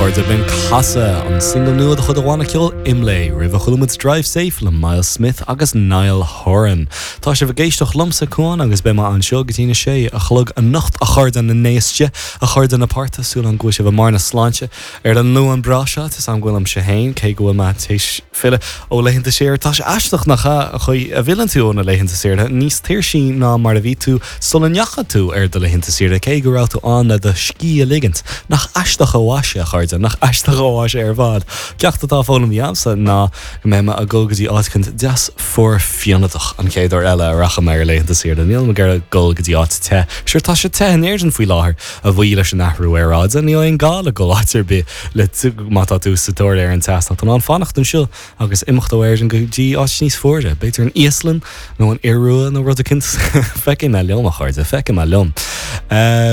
chairde, b'in Casadh, an single nua de chuid an bhanna ceoil Imlé. Roimhe chuala muid Drive Safe le Myles Smith agus Niall Horan. Tá sibh ag éisteacht liomsa, Cuán, agus beidh mé anseo go dtí na sé a chlog anocht, a chairde na n-éiste, a chairde na páirte, súil agam go bhfuil sibh i mbarr na sláinte. Ar an Luan breá seo, tá 's agam go bhfuilimse féin, cé go bhfuil mé tar éis filleadh ó laethanta saoire, tá sé aisteach nach ea, an chaoi a bhfilleann tú ó na laethanta saoire níos tuirsí ná mar a bhí tú sula ndeachaigh tú ar do laethanta saoire, cé go raibh tú ann le do scíth a ligint. Nach aisteach an mhaise, a chairde, nach aisteach an mhaise ar fad. Ceacht atá foghlamtha agamsa ná go mbeidh mé ag dul go dtí áit eicínt deas fuar fionadach an chéad uair eile a rachaidh mé ar laethanta saoire. Nílim ag iarraidh dul go dtí áit te. Sure, tá sé te in Éirinn faoi láthair. A bhuí leis an athrú aeráide, níl aon gá le dul áit ar bith le má tá tú sa tóir ar an teas, tá tú in ann fanacht anseo agus imeacht ó Éirinn go dtí áit níos fuaire, b'fhéidir an Íoslainn nó an Iorua nó rud eicínt. Feicfidh mé liom, a chairde, feicfidh mé liom.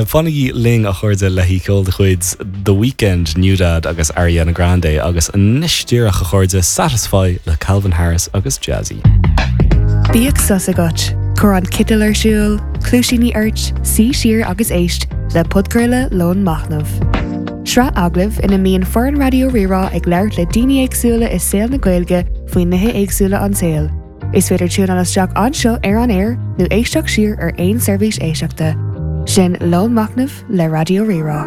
Fanaigí linn, a chairde, le haghaidh ceol de chuid The Weeknd, NewDad agus Ariana Grande agus anois díreach, a chairde, Satisfy le Calvin Harris agus Jazzy. Bíodh sos agat, cuir an citeal ar siúl, cluaisíní ort, suigh siar agus éist le podchraoladh Lón Machnaimh. Sraith agallamh ina mbíonn foireann Raidió Rí-Rá ag labhairt le daoine éagsúla i saol na Gaeilge faoi nithe éagsúla an tsaoil. Is féidir tiúnáil isteach anseo ar an aer nó éisteacht siar ar aon seirbhís éisteachta. Sin Lón Machnaimh le Raidió Rí-Rá.